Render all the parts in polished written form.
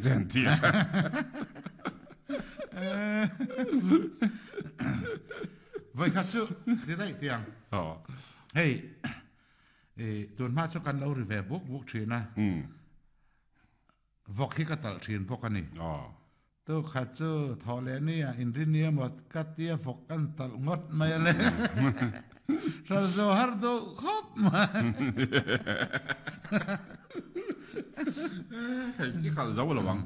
che an ti a. Voi khat chu ti daih tiang. Hei tun hma chu kan lo ri ve buk buk thin a. Vawk hi ka talh thin bawk a ni. Tu khat chu thawh leh nia inrin nia maw ka tia vawk kan talh ngawt mai a le. Hral zo har duh khawp mai. Hei i khalh zo lo ang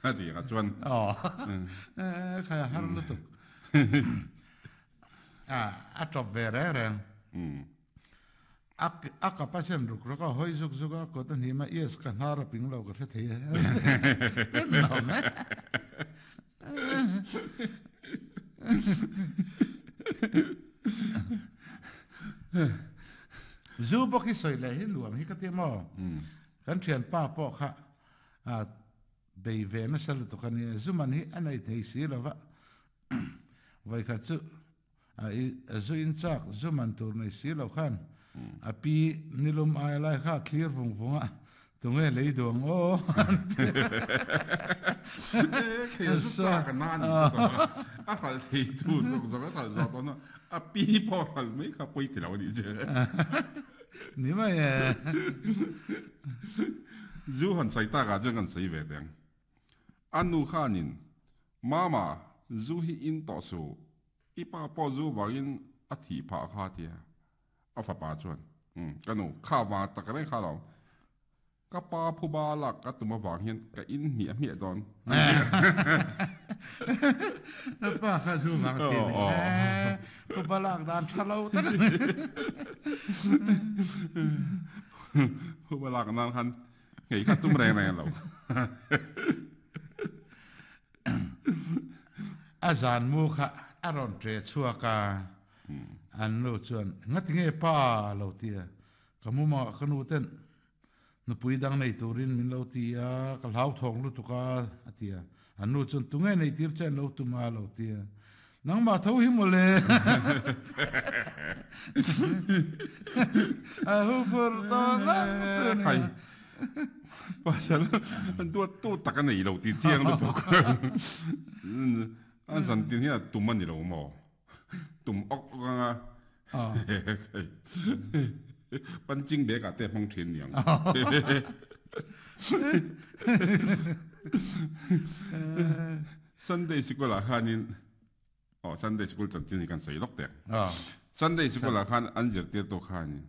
a ti kha chuan. Aw khai a har lutuk. A tawp ve reng reng. A a kap a sen ruk ruk a, hawi zuk zuk a, kawt a hnim a, yes ka hnar a ping lo ka hre thei e. Ten lo mai. Zu bawk hi sawi leh hi nuam hi ka ti maw? Kan thianpa pawh kha a bei ve nasa lutuk a nia, zu man hi a nei thei si lo va, vawikhat chu A zu in chak zu man tur nei si lo khan a pi nilum ai lai kha a thlir vung vung a, tunge lei duh ang aw an ti a. Khei a zu chak a na a ni chu tawh a, a hralh thei tu zawk zawk a hralh zawh tawh na a pi pawh hralh mai kha pawi ti lo a nih chu. Ni mai e. Zu han sawi tak ah chuan kan sawi ve teh ang. A nu khanin Mama, zu hi in tawh suh. I pa pawh zu vangin a thih phah kha tia a fapa chuan, Umm, ka nu, kha vang tak reng kha lo. Ka pa phuba lak ka tum avang hian ka in hmiah hmiah dawn. Ka pa kha zu vang a thi a ni. Phuba lak dan tha lo tak a ni. Phuba lak nan khan nghei kha tum reng reng lo. A zan mu kha a rawn ṭe chhuak a, an nu chuan, Ngati nge pa? a lo ti a. Ka mumah ka nu ten nupui dang nei turin min lo ti a, ka hlauthawng lutuk a, a ti a. An nu chuan, Tunge nei tir che an lo tum a? a lo ti a. Nangmah tho hi mawle! A hu phur tawh ngang chu a nia. Pasal duat tu tak a nei lo tih chiang lutuk. A zan tin hian tum a ni lo maw? Tum awk awk anga punching bag ah te a hmang thin niang. Sunday sikul ah khanin aw Sunday sikul chanchin hi kan sawi lawk teh. Sunday sikul ah khan an zirtirtu khanin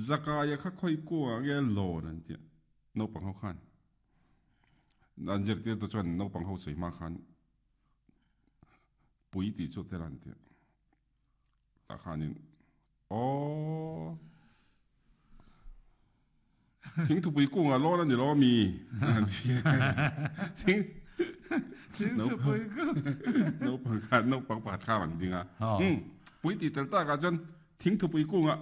Zakaia kha khawi kungah nge lawn an tih naupang ho khan an zirtirtu chuan naupang ho sawi hma khan pui tih chu tel an tih tah khanin aw thingthupui kungah lawn a ni lo ami an ti thing thingthupui kung naupang khan naupang pakhat kha a rawn ding a pui tih tel takah chuan thingthupui kungah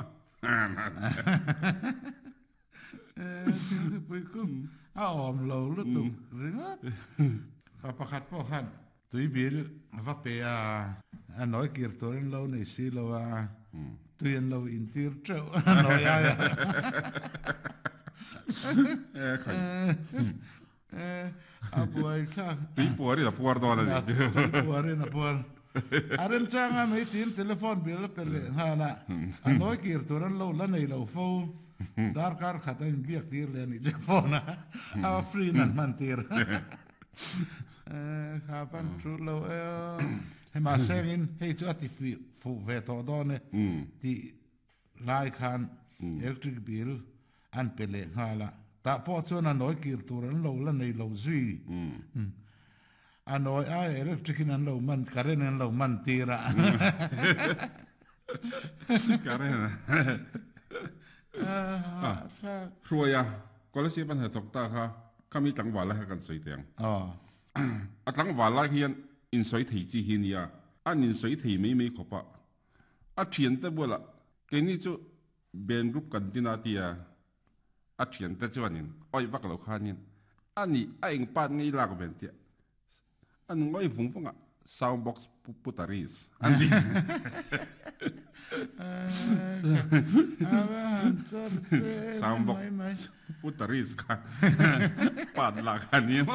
Thingthupui kung a awm lo lutuk ringawt. Pa pakhat pawh khan tuibil a va pe a, a nawi kir tur an lo nei si lo a, tui an lo intir teuh a nawi ai a. A buai thlak. Tui puarin a puar dawn a ni. Tui puarin a puar. A remchanga mai tiin telephone bill a pe leh nghal a, a nawi kir tur an lo la nei lo fo. Darkar khat a inbiak tir leh a nih chu phone a, a free in an hman tir. Kha van thu lo e aw. Hei mahse angin hei chu a ti fuh ve tawh dawn e tih lai khan electric bill an pe leh nghal a, tah pawh chuan a nawi kir tur an lo la nei lo zui. A nawi ai electric in an lo man, current an lo man tir a. Current a. Hruai a, Kolasib an hnathawk ta kha, khami tlangval lai kha kan sawi teh ang. A tlangval lai hian insawi thei chi hi nia, an insawi thei mai mai khawp a. A thiante bulah keini chu Ben group kan tin a tia a thiante chuanin awih vak lo khanin a nih a eng part ngei lak ven tia an ngawi vung vung a sound box putaris an ti. Sound box putaris kha part lak a ni maw.